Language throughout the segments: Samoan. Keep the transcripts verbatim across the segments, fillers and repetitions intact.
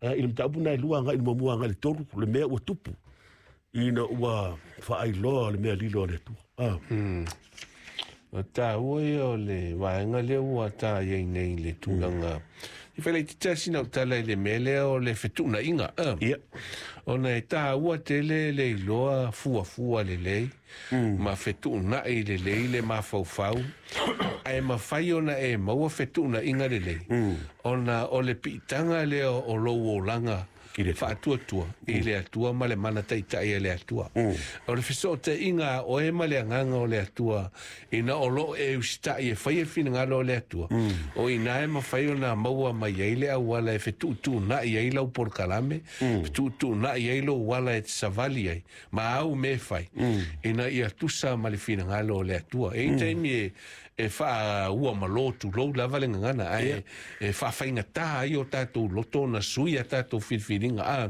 I le mataupu na e lua agai i le muamua agai i le tolu, le mea ua tupu ina ua faailoa le mea lilo a le Atua. Ah. Mm. O tāua ia o le vaega lea ua tā iai nei le tulaga. I whaile te tasi na utala i le mea lea o le fetuunaiga. Uh. Ia. Ona e tāua tele le iloa fuafua lelei, mm. ma fetuunai lelei le mafaufau, ae mafai ona e maua fetuunaiga lelei. Mm. Ona o le piitaga lea o lou olaga I le Atua. faatuatua i le Atua ma le mana taitai e le Atua. O le fesootaiga a oe ma le agaga o le Atua ina o loo e usitai e fai e finagalo o le Atua. O ina e mafai ona maua mai ai le auala e fetuutuunai ai lau polokalame, fetuutuunai ai lou ala e te savali ai, ma au me fai, ina ia tusa ma le finagalo o le Atua. E i taimi e e faaua malo tulou lava le gagana, ae e faafaigata ai o tatou loto ona sui a tatou filifiliga a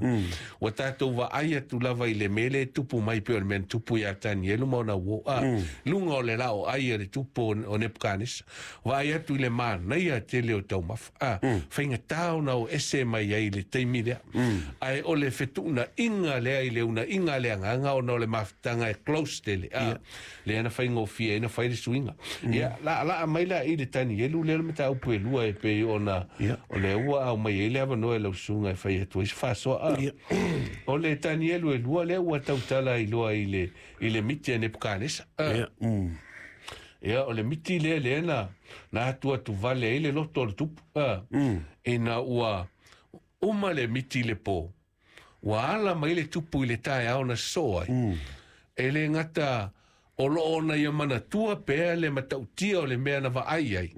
ua tatou vaai atu lava i le mea lea e tupu mai pei o le mea na tupu iā Tanielu ma ona uō a luga o le laoai a le tupu o o Nepukanesa, vaai atu i le manaia tele o taumafa a faigata ona o ese mai ai i le taimi lea, ae o le fetuunaiga lea i le unaiga a le agaga ona o le mafutaga e close tele a lea na faigofie ai na fai le suiga. Ia la la mai la i le Tanielu lea le mataupu e lua e pei ona Ia. o le ua au mai ai le avanoa e lau susuga e fai atu ai se faasoa a Ia. o le Tanielu e lua lea ua tautala i loa i le i le miti a Nepukanesa a Ia. Mm. ia o le miti lea lea na na atu atu vale ai le loto o le tupu a ina ua uma le miti i le pō, ua ala mai le tupu i le taeao na sosoo ai. E le gata o loo ona ia manatua pea le matautia o le mea na vaai ai,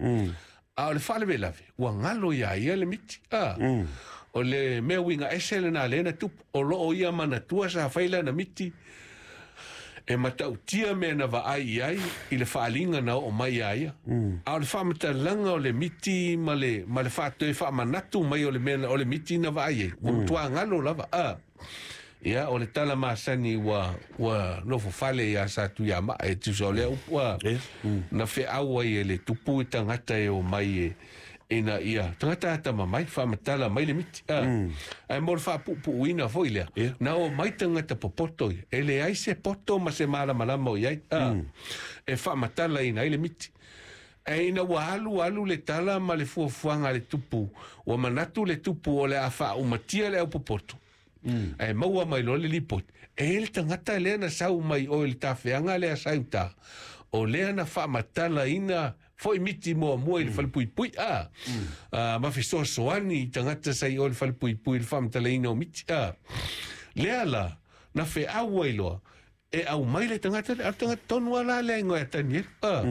a o le faalavelave ua galo iā ia le miti a o le mea uiga ese lenā lea na tupu o loo ia manatua sa fai lana miti e matautia mea na vaai i ai i le faaliga na oo mai iā ia. A o le faamatalaga o le miti ma le ma le faatoe faamanatu mai o le mea na- o le miti na vaai ai ua matuā galo lava a. Ia o le tala masani ua ua nofo fale iā Satuiamaa e tusa o lea upu a Ia. na feau ai e le tupu i tagata e omai e ina ia tagata atamamai faamatala mai le miti a ae mo le faapuupuuina foi lea Ia. na o mai tagata popoto ia e leai se poto ma se malamalama o iai a e faamatalaina ai le miti. Ae ina ua alu alu le tala ma le fuafuaga a le tupu, ua manatu le tupu o le a faaumatia le aupopoto ae maua mai loa le lipoti e i ai le tagata lea na sau mai oe i le tafeaga lea sa i uta o lea na faamatalaina foi miti muamua i le falepuipui a a ma fesoasoani i tagata sa i oe i le falepuipui i le faamatalaina o miti a lea la na feau ai loa e aumai le tagata lea, a o le tagata tonu lava la lea igoa ia Tanielu a.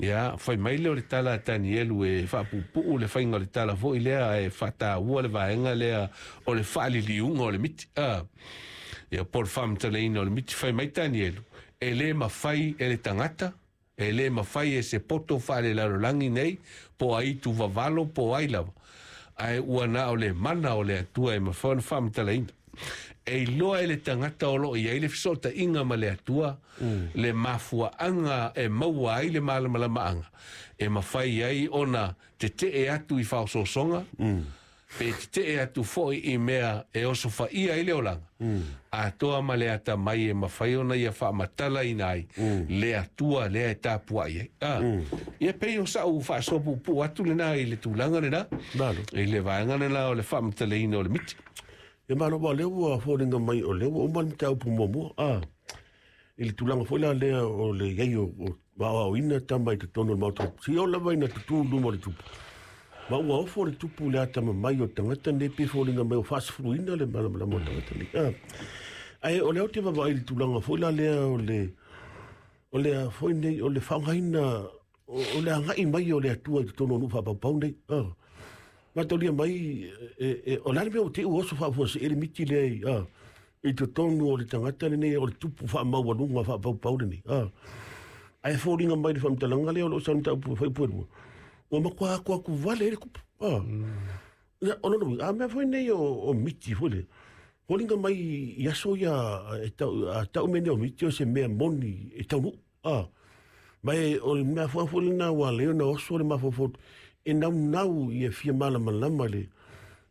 Ia fai mai lea o le tala a Tanielu e faapuupuu le faiga o le tala foi lea e faataua le vaega lea o le faaliliuga o le miti a ia po o le faamatalaina o le miti. Fai mai Tanielu e lē mafai e le tagata e lē mafai e se poto faalelalolagi nei po o ai tuvavalo po o ai lava ae ua na o le mana o le Atua e mafai ona faamatalaina e iloa e le tagata o loo i ai le fesootaiga ma le Atua le mafuaaga e maua ai le malamalamaaga e mafai ai ona tetee atu i faososoga pe tetee atu foi i mea e osofaia ai le olaga atoa ma le atamai e mafai ona ia faamatalaina ai le Atua lea e tapuai ai a. Ia pei o sa'u faasoa puupuu atu lenā i le tulaga lenā Malo. i le vaega lenā o le faamatalaina o le miti. Ia malo wa lea ua foliga mai o lea ua uma le mataupu muamua a i le tulaga foi la lea o le iai o o aoaoina tama i totonu o le maota si o lava ina tutū luma o le tupu ma ua ofo le tupu le atamamai o tagata nei pe foliga mai o faasefuluina le malamalama o tagata nei a. Ae o lea ou te vaavaai i le tulaga foi la lea o le o le foi nei o le faaaogaina o o le agai mai o le Atua i totonu o nuu faapaupau nei a. Mataulia mai e, e, o le a le mea ua te i ua oso faafuasei le miti lea i a i totonu o le tagata lenei o le tupu faamaualuga faapaupau lenei a. Ae foliga mai le faamatalaga lea o loo sau mataupu faaipu e lua ua matua aku aku vale ai le tupu a. Ia, o lona uiga a mea foi nei o, o miti foi le foliga mai i aso ia e tau a tau mea nei o miti o se mea moni e taunuu a. Ma e o le mea foi foi lena ua lea ona oso le mafaufau e naunau ia fia malamalama le